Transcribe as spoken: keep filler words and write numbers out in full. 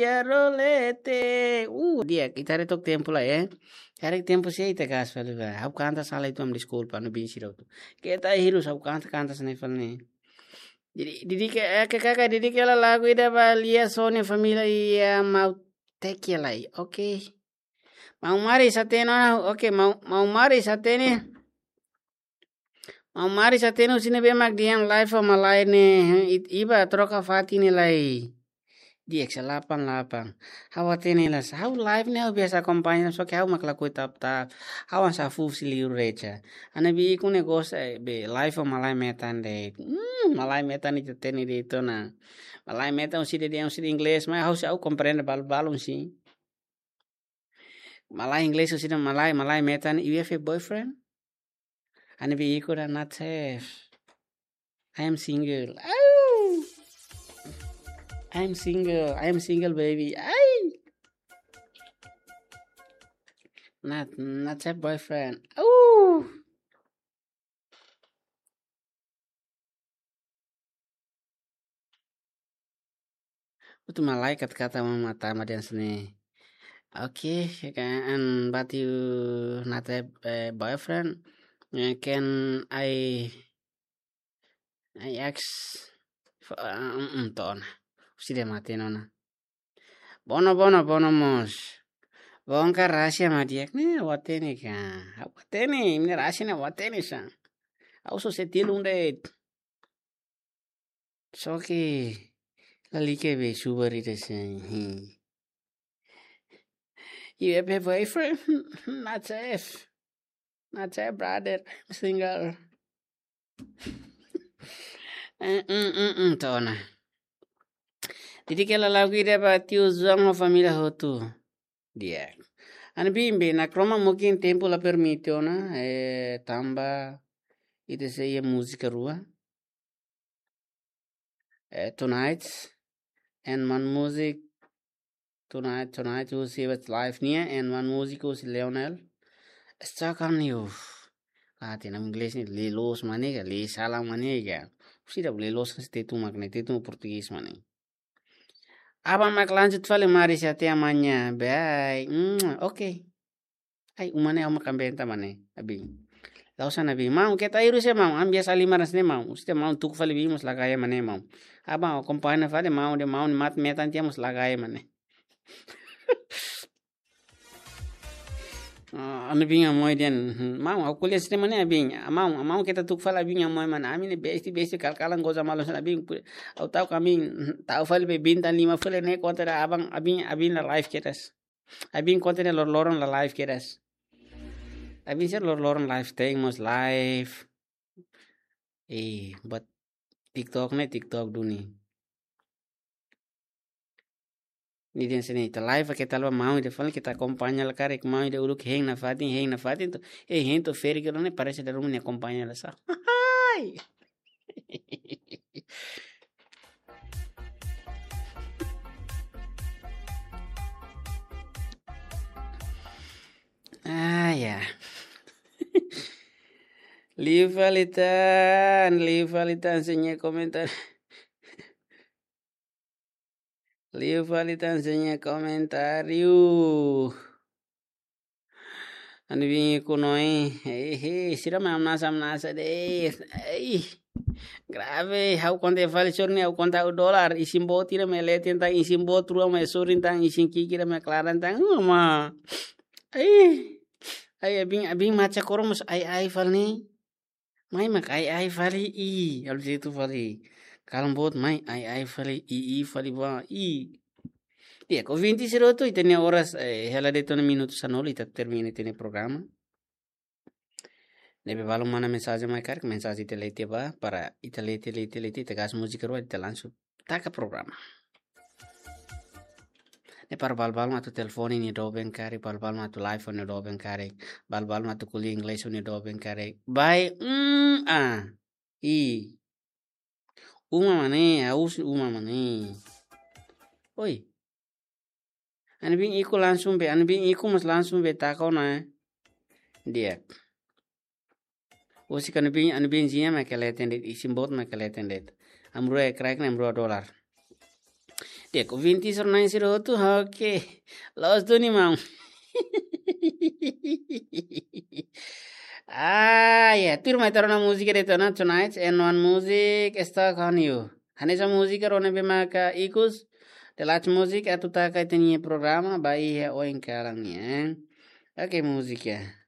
Lia rolete. Uh, di'ak, ita haree took tempu lai, eh. Haree tempu sei ita gas fali lai. Ha'u kanta sala uitoan, deskulpa, no bin sira hotu. Keta hirus, ha'u kanta, kanta sene fali ne'e. Jadi, didik, eh, ke kakak, didik hela lagu ida ba Lia Sony família iha Maun Teke lai. Oke. Maun Mari hatene ona, oke, Maun, Maun Mari hatene. Maun Mari hatene husi ne'ebé mak dehan live ho malae ne'e, it-, iha troka fatin ne'e lai. Di'ak, salapan lapan. Ha'u hatene la, ha'u live ne'e ha'u biasa akompaña, só ke ha'u mak lakohi tap-tap. Ha'u hanesan fuuk husi liur recha. Ana bi iku ne'e gosta, eh, be live ho malae metan de'it. Hmm, malae metan ita hatene de'it ona. Malae metan husi dehan, husi inglés, mas ha'u sei, ha'u komprende balu-balu husi. Malae inglés husi dehan malae, malae metan, "You have a boyfriend?" Ana bi iku dehan, "Not have. I am single." Au! "I am single. I am single, baby." Ai! "Not, not have boyfriend." Au! Hotu malae kata-kata mama tama dehan sene. Oke, kan, but you not have, eh, boyfriend. Eh, can I, I ask for, eh, mm, mm, to'o ona. Husi dehan mate nona. Bono, bono, bono mós. Bongkar rahasia mak di'ak ne'e, ha'u hatene ka. Ha'u hatene, imi-nia rahasia ne'e ha'u hatene sa. Ha'u só sei tilun de'it. Só ke lalika be subar ida sai. Hmm. "You have a boyfriend?" "Not have. Not have, brother. I'm single." Eh, mm, mm, mm, to'o ona. Didik hela lagu ida ba tiu Zuang ho família hotu. Di'ak. Ana bin be, nakroman mungkin tempu la permite ona, eh, tanba ita sei iha múzika rua. Eh, tonight, and one music, tonight, tonight, husi Westlife nian, and one music husi Leonel. Stuck on you. Ah, tiha inglés ne'e, lee loos mak ne'e ka, lee sala mak ne'e ka. Husi ida lee loos ka, se Tetun mak ne'e, Tetun portugés mak ne'e. Aban mak lanjut fali, mari se até amanhã. Bye. Hmm, oke. Ai, uma ne'e ha'u mak ambenta mak ne'e, abin. La'ós ana abin. Maun, keta hirus ya, maun. Ami biasa halimar hanesan ne'e, maun. Husi maun tuku fali biin mós la gaya mak ne'e, maun. Aban akompaña fali maun dehan maun nia matan tiha mós la gaya mak ne'e. Ah, ami bin amoi dehan, hmm, maun, ha'u ko'alia hanesan ne'e mak ne'e, abin. Ah, maun, ah, maun, keta tuku fali abin amoi mak ne'e. Ami ne'e besti, besti, kal-kalan goza malu hanesan ne'e, abin. Ha'u tau kamin, hmm, tau fali be bintang lima fali ne'e, konta dehan abang, abin, abin la live kedas. Abin konta dehan lor-loron la live kedas. Abin sira lor-loron live, tein mós live. Eh, buat TikTok ne'e, TikTok duni. Nia dehan sene, ita live ke talva maun ida fali, keta akompaña la karik, maun ida uluk hein nafatin, hein nafatin to'o, eh, hein to'o ferik ne'e parese dala ruma nia akompaña la sá. Hai! Ah, ya. Liu fali tan, liu fali tan sira-nia komentáriu. Liu fali tan sira-nia komentáriu. Ana bin iku noe, eh, eh, sira mak ameasa, ameasa de'it. Ei, grave, ha'u konta fali sorin ne'e, ha'u konta ha'u dolar, isin-boot ida mak leten tan, isin-boot rua mak sorin tan, isin-ki'ik ida mak klaran tan, uma. Ei, ai, abin, abin macha koro mós ai-ai fali ne'e. Mai mak ai-ai fali, i, halo jetu fali. Kalan boot mai ai-ai fali, i, i fali ba, i. Di'ak, ouvinte sira hotu, ita-nia oras, eh, hela de'it ona minutu sanulu, ita termina ita-nia programa. Ne'ebé balu manda mensajen mai karik, mensajen ita lee tiha ba, para ita lee tiha, lee tiha, lee tiha, ita gas múzika rua, ita langsung taka programa. Ne'e para balu-balu mak atu telefone nia doben karik, balu-balu mak atu live nia doben karik, balu-balu mak atu ko'alia inglés nia doben karik. Bai, mm, ah, i. Uma mak ne'e, ha'u husi uma mak ne'e. Oi. Ana bin iku langsung be, ana bin iku mós langsung be taka ona, eh. Di'ak. Husik ana bin, ana bin zinha mak leten de'it, isin-boot mak leten de'it. Ami rua kraik ne'e, ami rua dolar. Di'ak, ouvinte sira na'in sira hotu, oke. Loos duni maun. Ah, ya, tuirmai ita rona múzika de'it ona, Tonight, and one music, Stuck on You. Hanesan múzika rona ne'ebé maka ikus, The Last Music, atu taka ita-nia programa, ba iha oin kalan nian. Oke, múzika.